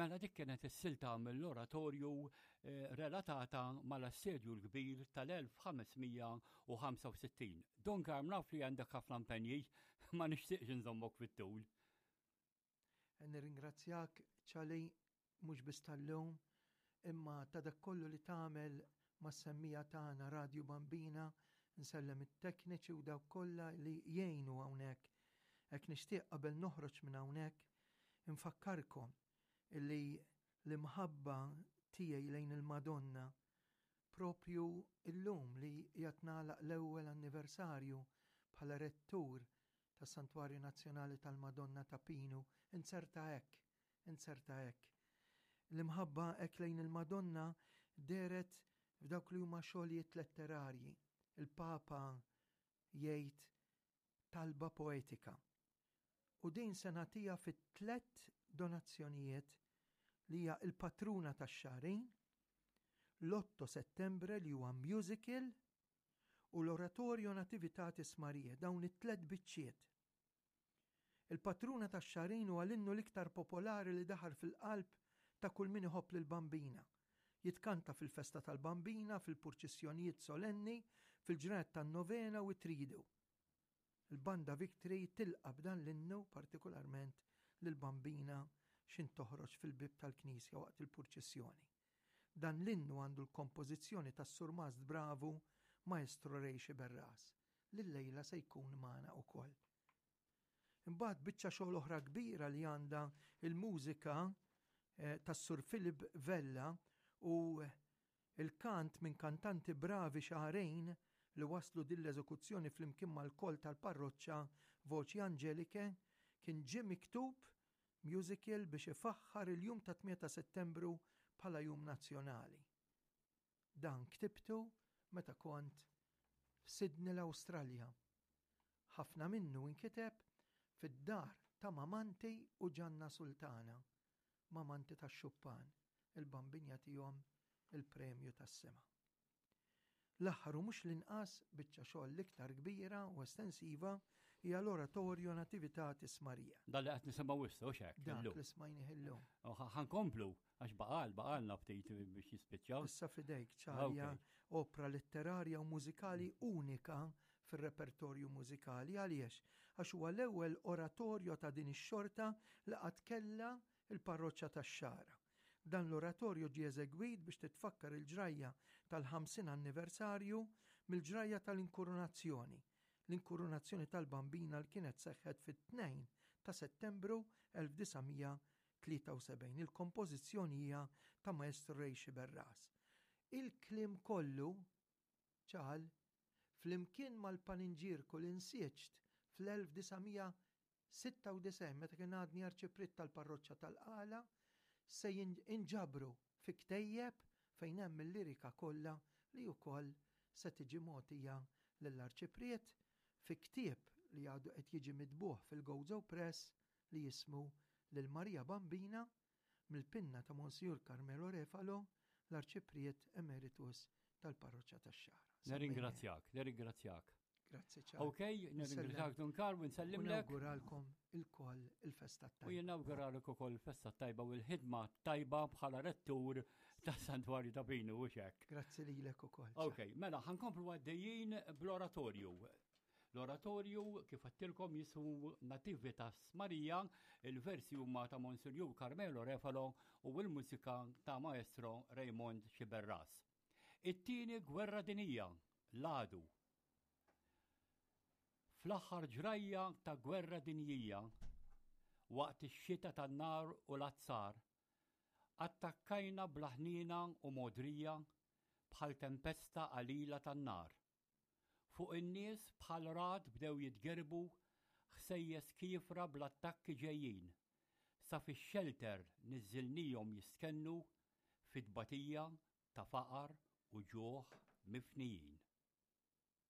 Mela dik kienet is-silta mill-oratorju eh, relatata mal-assedju l-kbir tal-1565. Don Karm naf li għandek ħafna impenji, ma nixtieqx nżommok fit-tul. Nirringrazzjak ċali mhux biss tal-lum, imma ta' dak kollu li tagħmel mas-semmija tagħna Radju Bambina, nsellem it-tekniċi u dawk kollha li jgħinu hawnhekk. Hekk nixtieq qabel noħroġ minn hawnhekk infakkarkom illi l-imħabba tiegħi lejn il-Madonna propju illum li qiegħed nagħlaq l-ewwel anniversarju bħala rettur tas-Santwarju Nazzjonali tal-Madonna ta' Pinu, inzerta hekk, inzerta hekk. L-imħabba hekk lejn il-Madonna dehret f'dawk li huma xogħlijiet letterarji. Il-Papa jgħid talba poetika. U din se nagħtiha fit-tlett donazzjonijiet li hija il-patruna tax-xahrin, l-Otto Settembre li huwa musical u l-Oratorio Nativitatis Mariae, dawn it-tlett biċċiet. Il-patruna tax-xahrin huwa l-innu l-iktar popolari li daħal fil-qalb ta' kull min iħobb lill-Bambina. Jitkanta fil-festa tal-Bambina, fil-purċissjonijiet solenni, fil-ġranet tan-novena u t-tridu. Il-Banda Victory tilqa' b'dan l-innu partikolarment lill-Bambina x'in toħroġ fil-bieb tal-knisja waqt il-purċissjoni. Dan l-innu għandu l-kompożizzjoni tas-Surmast Bravu Maestro Ray Sciberras, li llejla se jkun magħna ukoll. Imbagħad biċċa xogħol oħra kbira li għandha il-mużika eh, tas-Sur Philip Vella u il-kant minn kantanti bravi xahrejn li waslu din l-eżekuzzjoni flimkien mal-kol tal-parroċċa Voċi Angelike kien ġie miktub musical biex ifaħħar il-jum ta' 8 ta' Settembru bħala jum nazzjonali. Dan ktibtu meta kont f'Sydney l-Awstralja. Ħafna minnu inkiteb fid-dar ta' Mamanti u Ġanna Sultana, Mamanti tax-Xuppan, il-Bambin jagħtihom il-premju tas-sema. L-aħħar u mhux l-inqas biċċa xogħol l-iktar kbira u estensiva hija l-Oratorio Nativitatis Maria. Dan li qed nisimgħu issa u x'hekk. Dak li smajnih illum. Ħankomplu għax baqal baqalna ftit biex jispiċċaw. Issa fidejk ċarja opra letterarja u mużikali unika fir-repertorju mużikali għaliex għax huwa l-ewwel oratorju ta' din ix-xorta li qatt kellha il-parroċċa tax-Xagħra. Dan l-oratorju ġie eżegwit biex titfakkar il-ġrajja tal-50 anniversarju mill-ġrajja tal-inkurunazzjoni, l-inkurunazzjoni tal-Bambina li kienet seħħet fit-2 ta' Settembru 1973. Il-kompożizzjoni hija ta' Maestro Ray Sciberras. Il-kliem kollu, ċal, flimkien mal-paninġierku li nsiġt fl-1900 96 meta kien għadni arċipriet tal-parroċċa tal-Qala se jinġabru fi ktejjeb fejn hemm il-lirika kollha li wkoll se tiġi mogħtija lill-arċipriet fi ktieb li għadu qed jiġi mitbugħ fil-Gozo Press li jismu Lil Marija Bambina mill-pinna ta' Monsinjur Carmelo Refalo, l-Arċipriet Emeritus tal-Parroċċa tax-Xagħra. Nirringrazzjak, nirringrazzjak. Grazzi ċar. Ok, nirringrazzjak Dun Karl u nsellimlek. Nawguralkom il-koll il-festa tajba. U jien nawguralek ukoll il-festa tajba u l-ħidma tajba bħala rettur ta' Santwarju ta' Pinu u xek. Grazzi lilek ukoll. Ok, mela ħankomplu għaddejjin bl-oratorju. L-oratorju, kif għattilkom, jismu Nativitas Marija, il-versi huma ta' Monsinjur Carmelo Refalo u l-mużika ta' Maestro Raymond Sciberras. It-tieni gwerra dinija, l-għadu. Fl-aħħar ġrajja ta' gwerra dinjija, waqt ix-xita tan-nar u l-azzar, attakkajna bla ħniena u mogħdrija bħal tempesta qalila tan-nar. Fuq in-nies bħal ragħad bdew jitgerbu ħsejjes kiefra bl-attakki ġejjin, sa fix-xelter niżżilnihom jistkennu fi tbatija ta' faqar u ġuħ mifnijin.